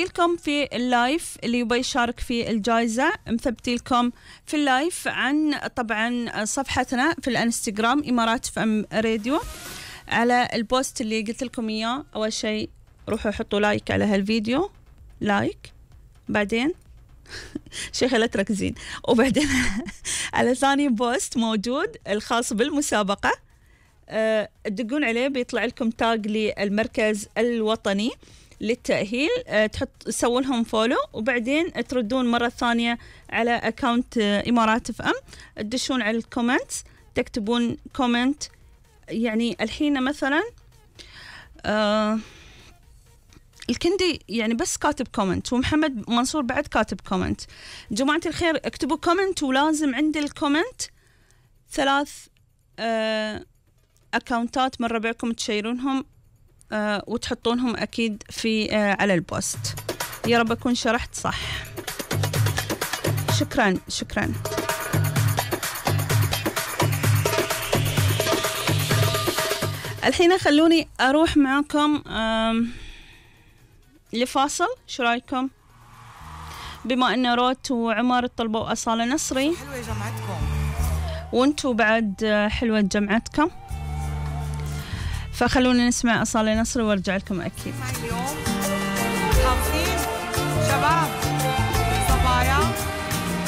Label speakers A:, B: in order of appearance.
A: لكم في اللايف اللي يبي يشارك في الجائزة، مثبتي لكم في اللايف عن طبعا صفحتنا في الانستغرام إمارات FM راديو. على البوست اللي قلت لكم إياه أول شيء روحوا حطوا لايك على هالفيديو، لايك، بعدين شيخة لا تركزين، وبعدين على ثاني بوست موجود الخاص بالمسابقة تدقون عليه بيطلع لكم تاج للمركز الوطني للتأهيل، تسوون لهم فولو وبعدين تردون مرة ثانية على أكاونت إمارات FM، تدشون على الكومنت تكتبون كومنت. يعني الحين مثلا الكندي يعني بس كاتب كومنت، ومحمد منصور بعد كاتب كومنت. جماعة الخير اكتبوا كومنت، ولازم عند الكومنت 3 أكاونتات من ربعكم تشيرونهم وتحطونهم أكيد في على البوست. يا رب أكون شرحت صح. شكرا. الحين خلوني أروح معكم لفاصل، شو رايكم؟ بما أن روت وعمر طلبوا أصالة نصري،
B: حلوة جمعتكم
A: وانتوا بعد حلوة جمعتكم، فخلونا نسمع أصالة نصري وارجع لكم أكيد.
B: اليوم حافظين شباب